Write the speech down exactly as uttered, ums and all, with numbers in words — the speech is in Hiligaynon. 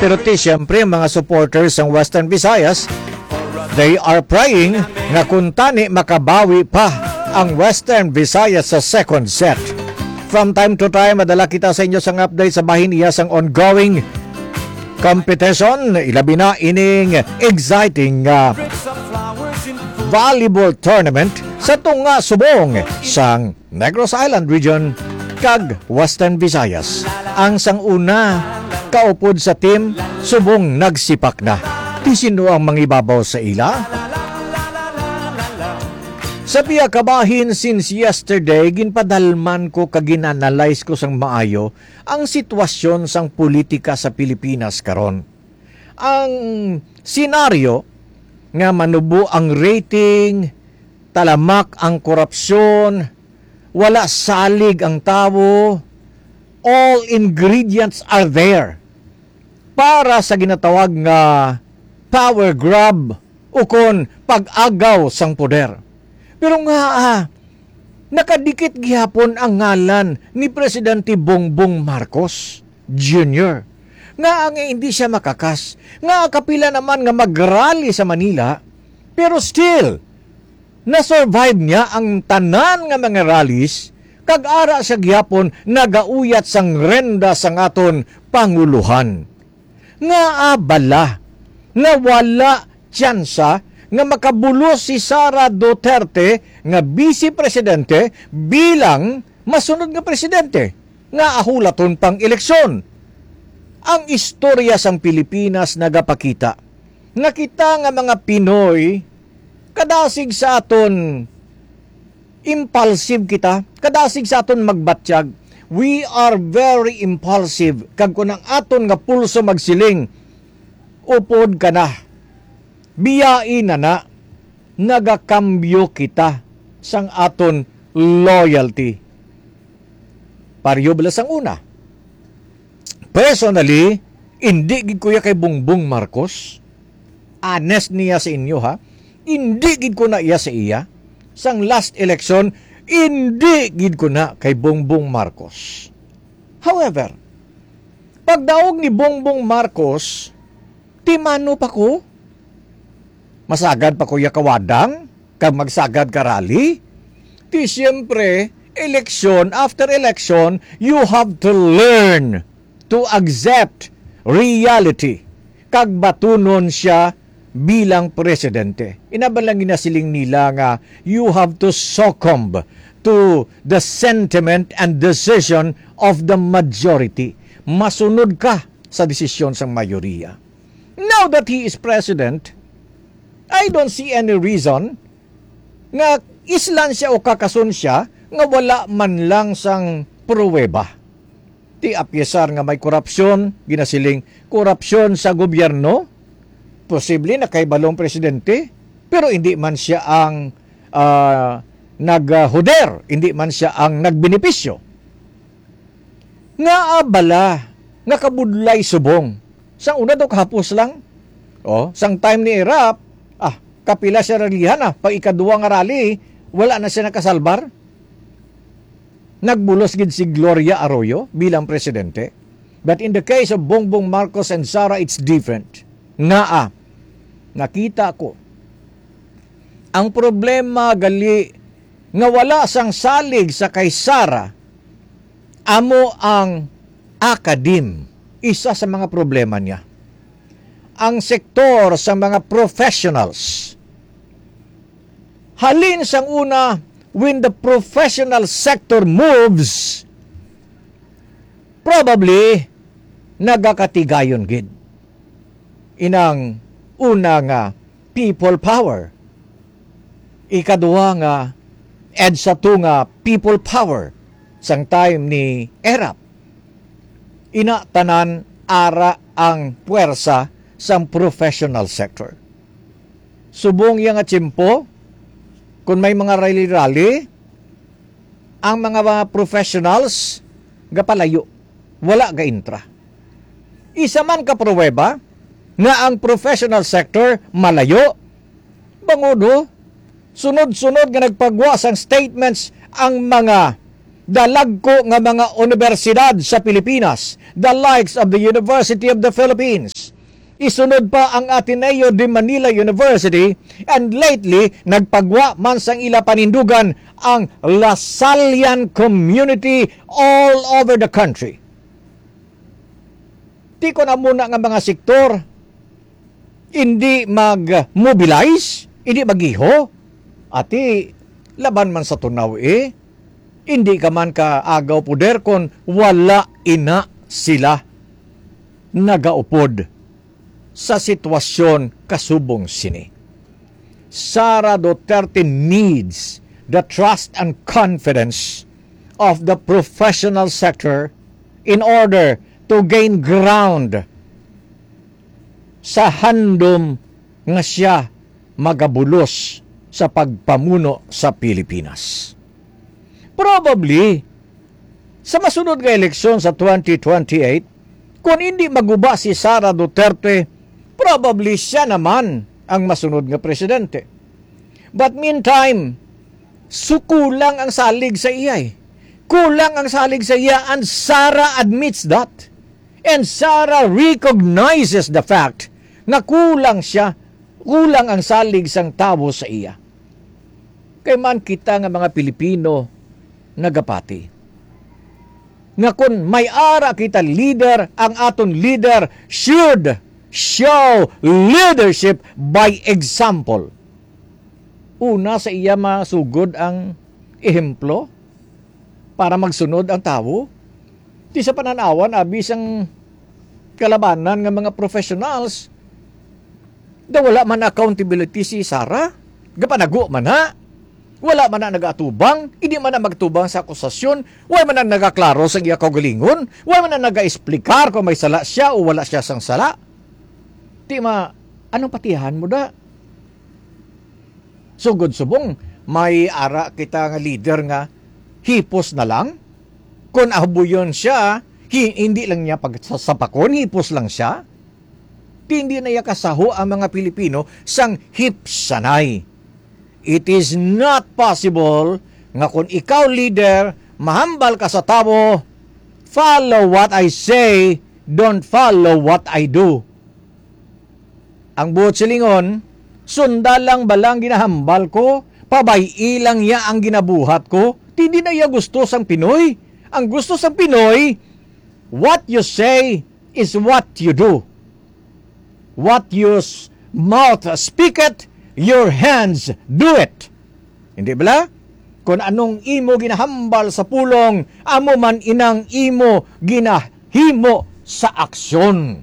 Pero ti, siyempre, ang mga supporters sang Western Visayas, they are praying nga kuntani makabawi pa ang Western Visayas sa second set. From time to time, madala kita sa inyo sang update sa bahin iya sang ongoing competition, ilabi na ining exciting, ah, volleyball tournament sa tunga subong sang Negros Island Region kag Western Visayas. Ang sang una kaupod sa team subong nagsipak na. Ti sino ang mangibabaw sa ila? Sa pia kabahin, since yesterday, ginpadalman ko kag gin-analyze ko sang maayo ang sitwasyon sang politika sa Pilipinas karon. Ang senaryo nga manubo ang rating, talamak ang korupsyon, wala salig ang tawo, all ingredients are there para sa ginatawag nga power grab ukon pag-agaw sang poder. Pero nga, ah, nakadikit gihapon ang ngalan ni Presidente Bongbong Marcos Junior, nga ang hindi siya makakas, nga kapila naman nga mag-rally sa Manila, pero still, na-survive niya ang tanan nga mga rallies, kag ara siya gihapon nagauyat sang renda sang aton panguluhan. Ngaa bala nga wala tsansa nga makabulos si Sara Duterte nga Vice Presidente bilang masunod nga presidente nga ahulaton pang eleksyon? Ang istorya sang Pilipinas nagapakita nga kita nga mga Pinoy, kadasig sa aton impulsive kita, kadasig sa aton magbatyag. We are very impulsive. Kag kung ang aton nga pulso magsiling, "Upod ka na, biyai na na," nagakambyo kita sang aton loyalty. Pareho bala sang una. Personally, indi gid ko iya kay Bongbong Marcos. Honest niya sa inyo, ha. Indi gid ko na iya sa iya. Sang last election, indi gid ko na kay Bongbong Marcos. However, pagdaog ni Bongbong Marcos, ti mano pa ko? Masagad pa ko iya kawadang kag magsagad ka rally? Ti siyempre, election after election, you have to learn to accept reality kag batunon siya bilang presidente. Ina ba lang ginasiling nila nga you have to succumb to the sentiment and decision of the majority? Masunod ka sa desisyon sang mayoriya. Now that he is president, I don't see any reason nga islan siya o kakason siya nga wala man lang sang pruweba. Ti, apyesar nga may korupsyon, ginasiling korupsyon sa gobyerno, posible nakahibalo ang presidente, pero hindi man siya ang, ah, naghuder, hindi man siya ang nagbenepisyo. Ngaa bala nga kabudlay subong? Sang una daw kahapos lang. Oh, sang time ni Erap, ah, kapila siya ralihan, ah, pag ikaduwa nga rally, wala na siya nakasalbar. Nagbulos gid si Gloria Arroyo bilang presidente. But in the case of Bongbong Marcos and Sara, it's different. Ngaa, nakita ko, ang problema gali nga wala sang salig sa kay Sara, amo ang academe, isa sa mga problema niya. Ang sektor sa mga professionals. Halin sang una, when the professional sector moves, probably nagakatigayon gid. Inang una nga people power. Ikaduha nga EDSA two nga people power sang time ni Erap. Ina tanan ara ang puwersa sang professional sector. Subong iya nga tiyempo, kung may mga rally-rally, ang mga, mga professionals gapalayo, wala ga-intra. Isa man ka pruweba nga ang professional sector malayo, bangudo, sunod-sunod nga nagpagwa sang statements ang mga dalagko nga mga universidad sa Pilipinas, the likes of the University of the Philippines. Isunod pa ang Ateneo de Manila University, and lately, nagpagwa man sang ila panindugan ang Lasallian community all over the country. Ti kon amo na nga mga sektor, hindi mag-mobilize, hindi magiho, ati, laban man sa tunaw, eh. Hindi ka man ka agaw poder kon wala ina sila nagaupod sa sitwasyon kasubong sini. Sara Duterte needs the trust and confidence of the professional sector in order to gain ground sa handom nga siya magabulos sa pagpamuno sa Pilipinas. Probably, sa masunod nga eleksyon sa twenty twenty-eight, kung hindi maguba si Sara Duterte, probably siya naman ang masunod nga presidente. But meantime, so kulang ang salig sa iya, eh. Kulang ang salig sa iya, and Sara admits that. And Sara recognizes the fact nga kulang siya, kulang ang salig sang tawo sa iya. Kay man kita nga mga Pilipino nagapati nga kon may ara kita leader, ang aton leader should show leadership by example. Una sa iya masugod ang ehemplo para magsunod ang tawo. Ti sa pananawan, abi sang kalabanan nga mga professionals, da wala man accountability si Sara. Gapanago man na. Wala man na nagaatubang, hindi man na magtubang sa akusasyon, wala man na nagaklaro sa iya kaugalingon, wala man na nagaesplikar kung may sala siya o wala siya sang sala. Ti ma, anong patihan mo da? Sugod subong, may ara kita nga leader nga hipos na lang. Kung abuyon siya, hi-, hindi lang niya pagsasapakon, hipos lang siya. Ti hindi na iya kasaho ang mga Pilipino sang hipsanay. It is not possible nga kung ikaw leader, mahambal ka sa tawo, "Follow what I say, don't follow what I do." Ang buot silingon, sunda lang bala ang ginahambal ko, pabay-i lang niya ang ginabuhat ko. Ti hindi na iya gusto sang Pinoy. Ang gusto sang Pinoy, what you say is what you do. What your s-, mouth speaketh, your hands do it. Hindi bala? Kung anong imo ginahambal sa pulong, amo man inang imo ginahimo sa aksyon.